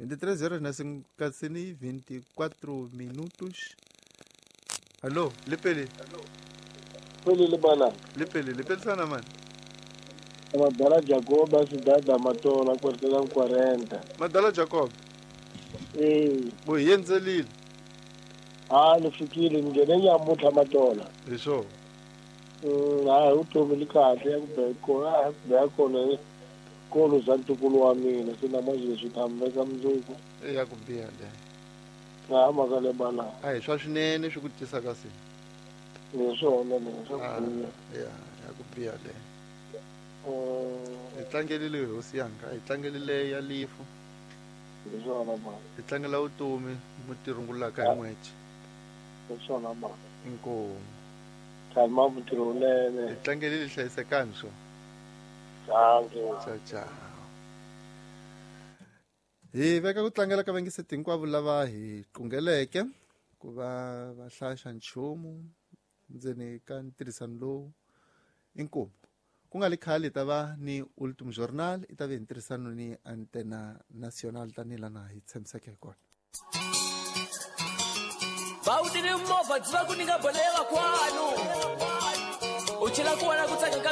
23 horas na 24 minutos. Allo, lepele. Pele le bana. Lepele, lepele sana mani. Madala Jacob a cidade da Matola quarteirão 40. Madala Jacob. Eh, Bo hi endzelile. a ni fikile ni nghene nyamuntlha Matola. Hi swona. Hayi vutomi li kahle ya ku be kona ya ku be kona kolo za ntukulu wa mina se na mazwi ta mi veka mundzuku. E ya ku biha le. Ha mhaka le bana. A hi swa swinene swi ku tisaka se. Hi swona le swa Ah, ku biha. ya ya ku biha le. Hi tlangelile hosi yanga, hi tlangelile ya lifu, Hi swona bana. hi tlangela vutomi mu tirhungulaka hi n'wece. Hi swona bana. Inkomu. Tshama mutirhi wunene. Hi tlangelile hlayisekani swo. Dankie. Ciao ciao. Hi veka ku tlangela ka vangiseti hinkwavo lava hi qungeleke ku va va hlaya xa nchumu ndzeni ka ntirhisano lowu inkomu ku nga li khale hi ta va ni Ultim Journal i ta ve hi ntirhisano ni Antena National tanihi lana hi tshembiseke hi kona. Bawutini movha byi va ku nyika boleka kwano u chela ku vona ku tsaka ka